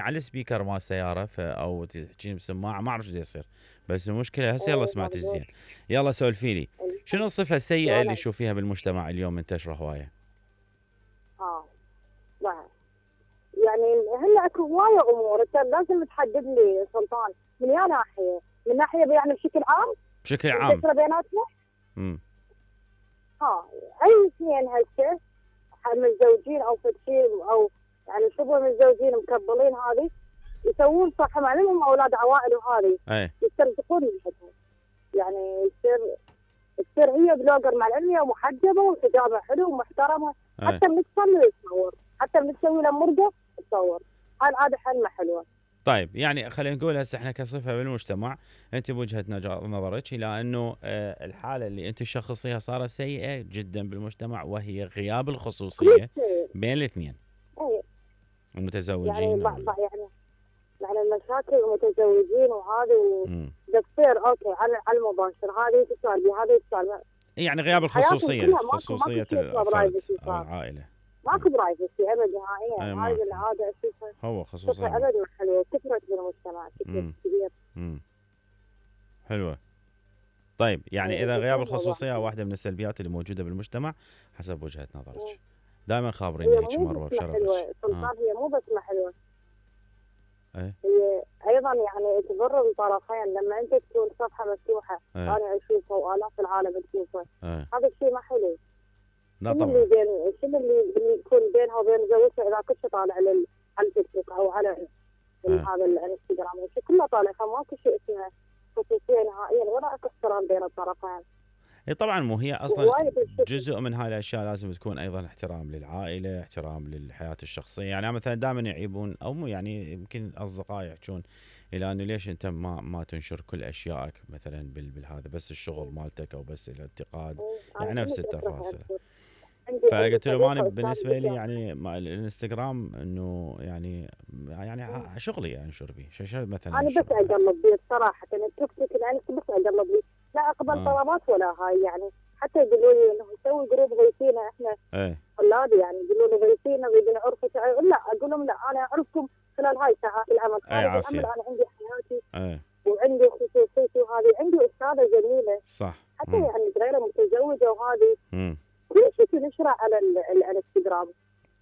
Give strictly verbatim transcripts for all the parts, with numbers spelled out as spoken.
على السبيكر مال السياره ف او تحكين بسماعه ما اعرف شو يصير، بس المشكله هسه يلا ايه سمعتك زين. ممدوح. يلا سولفي لي شنو الصفه السيئه اللي شلونك؟ تشوفيها بالمجتمع اليوم منتشره هوايه؟ اه لا يعني هلا اكو هوايه امور انت لازم تحدد لي سلطان من يا ناحيه، من ناحيه يعني بشكل عام بشكل عام. منتشره بيناتنا. امم ها اي اثنين هسه متزوجين او فتشي او يعني شبه متزوجين مكبلين هذه يسوون صح مع انهم اولاد عوائل وهذه اي يسترزقون من حدهم، يعني يصير تصير هي بلوجر مع العلم هي محجبه وحجابها حلو ومحترمه، اي حتى من تصلي تصور، حتى من تسوي لها مرقه تصور، هاي عاده حلمه حلوه. طيب يعني خلينا نقول هسه احنا كصفه بالمجتمع، انت بوجهه نج- نظرك الى انه آه، الحاله اللي انت تشخصيها صارت سيئه جدا بالمجتمع وهي غياب كل الخصوصيه شيء بين الاثنين اي يعني المتزوجين او ب- ال... ب- يعني يعني المشاكل المتزوجين وهذه مم. بتصير اوكي على على المباشر، هذه تسال بي هذه تسال يعني غياب حياتهم الخصوصيه، كلها ماكو ماكو خصوصيه شيء اسمه الفرد برايفسي او صار، العائله. ماكو برايفسي ابد اي نهائيا، هاي ماكو، العاده اشوفها هو صفه خصوصيه. ابد ما حلوه كثرت بالمجتمع كثر امم كبير. امم حلوه. طيب يعني اي اذا غياب جدا موضوع الخصوصيه حلو. واحده من السلبيات اللي موجوده بالمجتمع حسب وجهه نظرك، دائما هي خابريني هيك مو مروه بس ما بشرفك. حلوه اه سلطان، هي مو بس ما حلوه، اي هي ايضا يعني تضر الطرفين لما انت تكون صفحه مفتوحه اي انا اشوفها والاف العالم تشوفها، اي هذا الشيء ما حلو. لا شنو اللي طبعا. بين شنو اللي اللي يكون بينها وبين زوجها اذا كنت طالع على ال- على التيك توك او على ال- اي هذا الانستغرام والشيء كله طالع، فماكو شيء اسمه خصوصيه نهائيا ولا اكو احترام بين الطرفين. اي طبعا، مو هي اصلا وهوايه الشكل جزء من هاي الاشياء لازم تكون ايضا احترام للعائله، احترام للحياه الشخصيه. يعني أنا مثلا دائما يعيبون او مو يعني يمكن اصدقائي يحجون الى انه ليش انت ما ما تنشر كل اشيائك مثلا بال- بالهذا، بس الشغل مالتك او بس الانتقاد، انا يعني نفس كلش اكره التفاصيل. انشر. عندي عندي فقلت له ما أنا صديقه بالنسبه استاذه لي بالجامعه. يعني مع الانستغرام انه يعني يعني ع- شغلي يعني انشر بيه شو شو مثلا انا انشر بس بيه. اقلب بيه بصراحه، انا التيك توك الانس بس اقلب بيه، لا اقبل اه طلبات ولا هاي يعني، حتى يقولوا لي انه نسوي جروب غيثينا احنا ايه طلاب، يعني يقولوا لي غيثينا نريد نعرفك، لا اقول لهم لا انا اعرفكم خلال هاي ساعات العمل، ايه خارج العمل عافيه. انا عندي حياتي ايه وعندي خصوصيتي، وهذه عندي استاذه جميله صح. حتى امم يعني صغيره متزوجه وهذه امم كل شيء تنشره على ال- الانستغرام،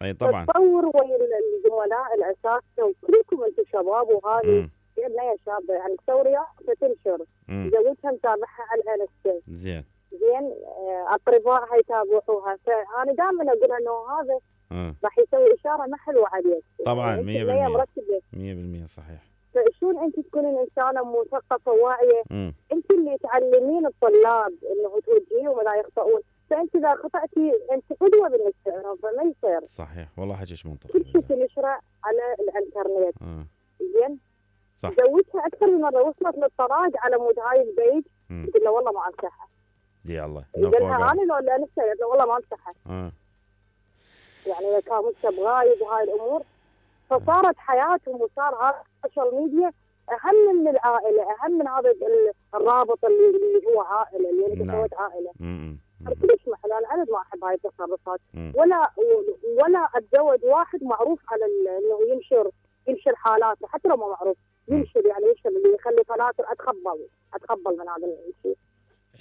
اي طبعا. فتصور ويا ال- الزملاء الاساتذه وكلكم انتم شباب وهذه امم بنيه شابه يعني تسوي فتنشر، امم زوجها متابعها على الانستا زين. زين، آه، اقربائها يتابعوها، فانا دائما اقول انه هذا اه راح يسوي اشاره ما حلوه عليك، طبعا يعني انت بنيه مية بالمية. مرتبه، مية بالمية صحيح. فشلون انت تكونين انسانه مثقفه واعيه، امم انت اللي تعلمين الطلاب انه توجهيهم ولا يخطئون، فانت اذا خطاتي انت قدوه بالنسبه لهم، فما يصير صحيح والله حكيش منطقي كل شيء بالله. تنشره على الانترنت. اه زين، صح. زوجها اكثر من مره وصلت للطلاق على مود هاي البيج، امم قلت له والله ما امسحها، دي الله نو قال لها فوق. انا لو لا نفسي، قلت له والله ما امسحها، اه يعني اذا كان مكتب غايب وهاي الامور، فصارت حياتهم وصار هذا السوشيال ميديا اهم من العائله، اهم من هذا ال- الرابط اللي, اللي هو عائله، اللي انت نعم. سويت عائله. امم انا كلش محل، انا ابد ما احب هاي التصرفات، امم ولا ولا اتزوج واحد معروف على ال- انه ينشر ينشر حالاته حتى لو ما معروف، ينشر يعني ينشر اللي يخلي فلاتر، اتقبل اتقبل من هذا الشيء.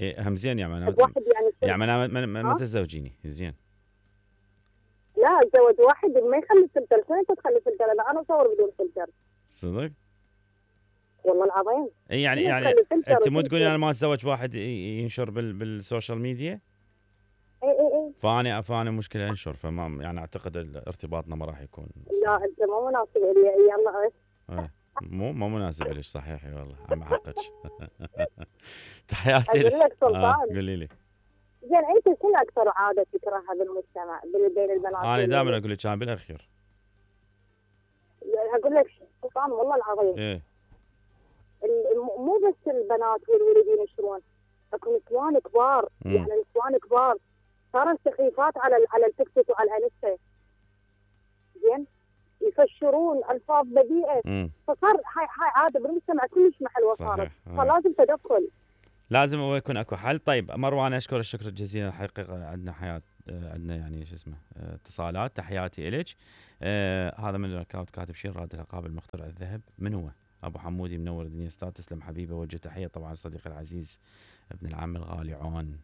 إيه هم زين يعني احب انا واحد يعني يصير- يعني انا ما- ما ما ها؟ تتزوجيني زين. لا اتزوج واحد ما يخلي فلتر، شلون انت تخلي فلتر؟ لا انا اصور بدون فلتر صدق؟ والله العظيم. إيه يعني شنو يعني تخلي فلتر انت مو تقولي وتنشر؟ انا ما اتزوج واحد ي- ينشر بال بالسوشيال ميديا، اي اي اي فاني فاني مشكله انشر، فما يعني اعتقد ال- ارتباطنا ما راح يكون لا صحيح. انت مو مناسب لي، يلا ايش؟ ايه مو مو مناسب لك صحيح اي والله عم حقك. تحياتي اقول لك. لك اه سلطان، قولي لي. زين انت شنو اكثر عاده تكرهها بالمجتمع بين بين البنات انا دائما والولد؟ اقول لك كان بالاخير. يعني اقول لك سلطان والله العظيم، ايه ال- الم- مو بس البنات والولد ينشرون، اكو نسوان كبار، مم. يعني نسوان كبار صارت سخيفات على ال- على التيك توك وعلى الانستا، زين، يفشرون الفاظ بذيئه، امم فصار هاي هاي عاده بالمجتمع كلش ما حلوه صارت، صحيح. آه. فلازم تدخل. لازم هو يكون اكو حل. طيب مروان اشكر الشكر الجزيل، الحقيقه عندنا حياه آه عندنا يعني شو اسمه آه اتصالات. تحياتي الك. آه هذا من الاكونت كاتب شير راد العقاب المخترع الذهب. من هو؟ ابو حمودي منور الدنيا استاذ. تسلم حبيبي. وجه تحيه طبعا صديقي العزيز ابن العم الغالي عون.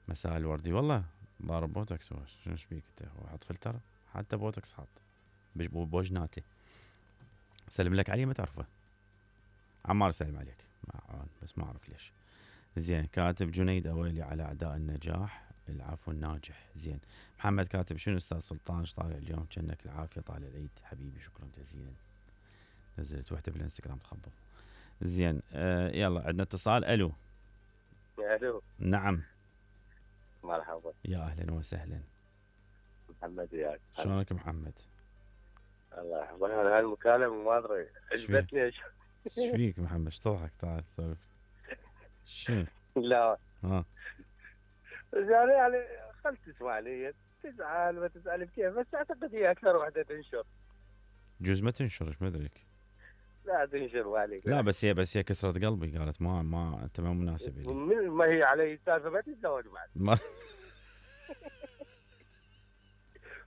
مساء الوردي. والله ضارب بوتوكس هو. شو ايش بيك انت؟ هو حط فلتر حتى بوتوكس حاط بوجناتي. سلم لك علي ما تعرفه. عمار سلم عليك مع بس ما اعرف ليش. زين. كاتب جنيد اويلي على اعداء النجاح العفو الناجح. زين. محمد كاتب شنو استاذ سلطان ايش طالع اليوم؟ كأنك العافيه طالع العيد حبيبي. شكرا جزيلا. نزلت وحده بالانستغرام تخبط. زين. آه يلا عندنا اتصال. الو. الو. نعم. مرحبا. يا اهلا وسهلا. محمد وياك. شلونك محمد؟ الله يحفظك. انا هالمكالمه ما ادري عجبتني. ايش فيك محمد؟ ايش تضحك؟ تعال سولف. شنو؟ لا ها يعني يعني خل تسمع لي تزعل ما تزعل بكيف، بس اعتقد هي اكثر وحده تنشر. جوز ما تنشر ايش ما ادريك. لا تنشر وعليك. لا بس هي بس هي كسرت قلبي. قالت ما ما انت ما مناسب لي. من ما هي علي السالفه ما تتزوج بعد. ما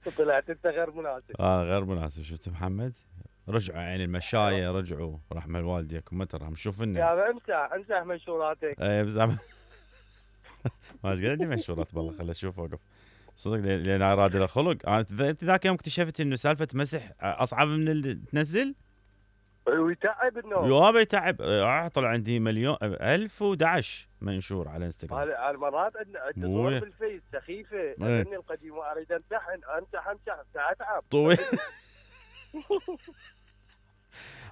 وطلعت انت غير مناسب. اه غير مناسب. شفت محمد؟ رجعوا يعني المشايه رجعوا رحمه والديكم ما ترى شوف لنا. يا امسح امسح منشوراتك. اي بس ما ايش قاعد منشورات والله. خل اشوف اوقف صدق لان اراد له خلق. انا انت ذاك يوم اكتشفت انه سالفه مسح اصعب من اللي تنزل. ويتعب النوم. يابا يتعب. اه طلع عندي مليون ألف وأحد منشور على انستغرام. هالمرات عندنا تدور بالفيس سخيفه. اني القديم واريد امسح امسح امسح اتعب طويل.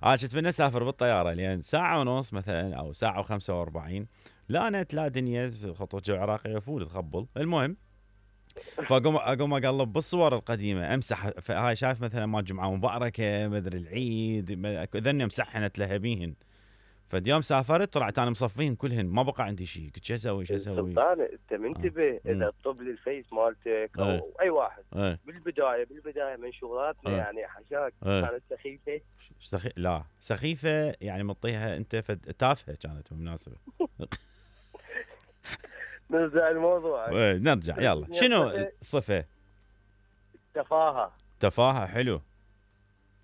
انا كنت من اسافر بالطياره لين ساعه ونص مثلا او ساعه وخمسة وأربعين. لا نت لا دنيا خطوط جو عراقيه فول تخبل. المهم فاقوم اقوم اقلب بالصور القديمه امسح. هاي شايف مثلا ما جمعه مباركه مدري العيد ذني مسحنت لهبيهن. فاليوم سافرت طلعت انا مصفين كلهن ما بقى عندي شيء. قلت شو اسوي شو اسوي؟ سلطان انت منتبه. آه. اذا طب لي الفيس مالتك او آه. اي واحد آه. بالبدايه بالبدايه منشوراتنا آه. يعني حشاك آه. كانت سخيفه. سخي... لا سخيفه يعني مطيها انت فد... تافهه كانت بالمناسبه. نرجع الموضوع. نرجع يلا. شنو صفه؟ تفاهه. تفاهه. حلو.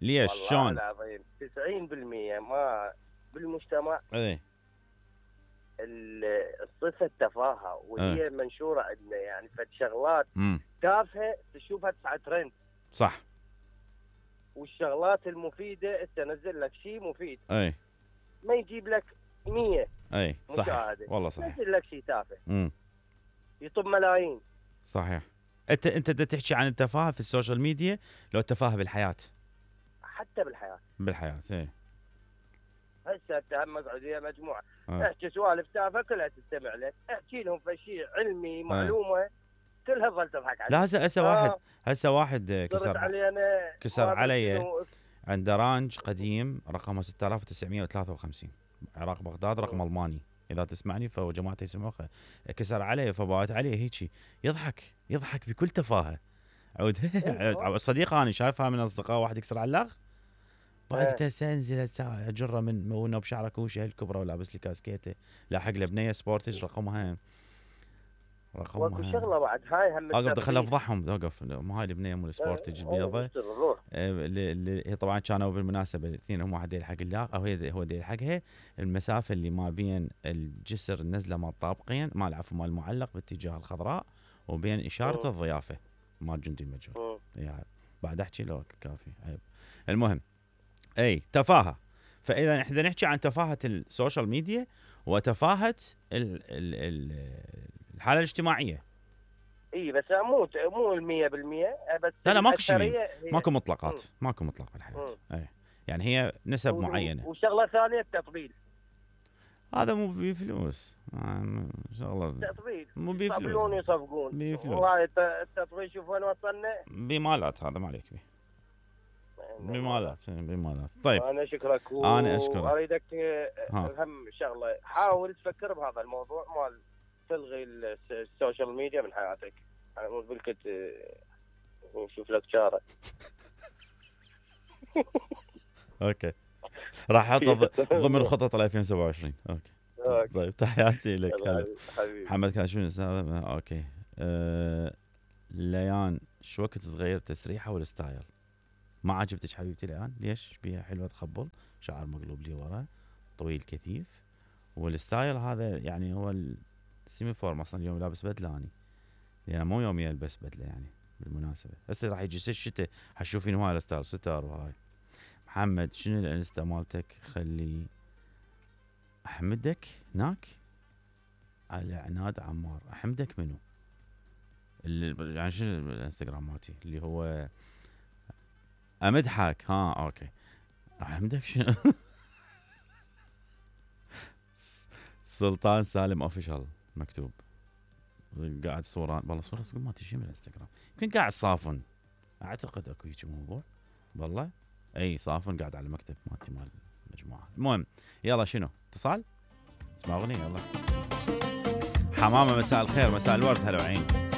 ليش شلون؟ والله العظيم تسعين بالمئة ما بالمجتمع ايه الصفه التفاهه وهي ايه. منشوره عندنا يعني فد شغلات امم تافهه تشوفها تسعى ترند. صح. والشغلات المفيده تنزل لك شيء مفيد. اي ما يجيب لك مية. اي صح والله صحيح. ينزل لك شيء تافه. امم يطب ملايين. صحيح. انت انت تحكي عن التفاهه في السوشيال ميديا لو التفاهه بالحياه؟ حتى بالحياه. بالحياه اي. هسه اتهم مقعديه مجموعه آه. احكي سوالف تافهه كلها تستمع لك. احكي لهم في شيء علمي معلومه كلها تظل تضحك عليك. لا هسه هسه آه. واحد هسه واحد كسر علي كسر علي عنده رانج قديم رقمه ستة آلاف وتسعمئة وثلاثة وخمسين عراق بغداد رقم الماني اذا تسمعني فجماعتي يسمعوه. كسر علي فبوات عليه هيجي يضحك يضحك بكل تفاهه. عود صديق انا شايفها من اصدقاء واحد يكسر على اللغ. بعد قلت هسه انزل هسه اجره من مونه بشعره كوشه الكبرى ولابس لي كاسكيته لاحق له بنيه سبورتج رقمها رقمها وكل شغله بعد هاي هم اقف دخل افضحهم. اوقف ما هاي البنيه مو السبورتج البيضه اللي هي طبعا كانوا بالمناسبه الاثنين هم واحد يلحق اللاغ او هي هو يلحقها. المسافه اللي ما بين الجسر النزله مال طابقين مال عفوا مال المعلق باتجاه الخضراء وبين اشاره الضيافه مال جندي المجهول. يعني بعد احكي لو كافي عيب. المهم اي تفاهه. فاذا احنا نحكي عن تفاهه السوشيال ميديا وتفاهه ال ال ال الحاله الاجتماعيه. اي بس مو مو المية بالمية بس لا لا ماكو شيء ماكو مطلقات م. ماكو مطلق بالحياه. اي يعني هي نسب و... معينه. وشغله ثانيه التطبيل. هذا مو بفلوس شغله التطبيل مو بفلوس. يصفقون يصفقون بفلوس. وهاي التطبيل شوف وين وصلنا. بمالات هذا ما عليك به. بمالات بمالات. طيب انا اشكرك و... انا اشكرك. اريدك هم شغله حاول تفكر بهذا الموضوع مال تلغي السوشيال ميديا من حياتك. انا مو بالكت نشوف لك شاره. اوكي راح احطه ضمن خطط ألفين وسبعة وعشرين. اوكي طيب تحياتي لك. محمد كان شنو اوكي أه... ليان شو وقت تغير تسريحه والستايل؟ ما عجبتك حبيبتي ليان؟ ليش؟ بيها حلوه تخبل، شعر مقلوب لي ورا، طويل كثيف، والستايل هذا يعني هو السيمي فورم. اصلا اليوم لابس بدله اني، يعني مو يومي البس بدله يعني بالمناسبه. هسه راح يجي الشتاء حتشوفين هواي الستايل ستار وهاي. محمد شنو الانستا مالتك؟ خلي احمدك هناك على عناد عمار. احمدك منو؟ اللي يعني شنو الانستغرام مالتي اللي هو امدحك؟ ها اوكي. احمدك شنو؟ سلطان سالم اوفيشال مكتوب. قاعد صورة، والله صورة صدق ما تجي من الانستغرام، يمكن قاعد صافن، اعتقد اكو هيك موضوع والله. اي صافن قاعد على المكتب مالتي مال المجموعة. المهم يلا شنو اتصال؟ اسمع اغنية يلا. حمامة مساء الخير، مساء الورد، هلا وعين.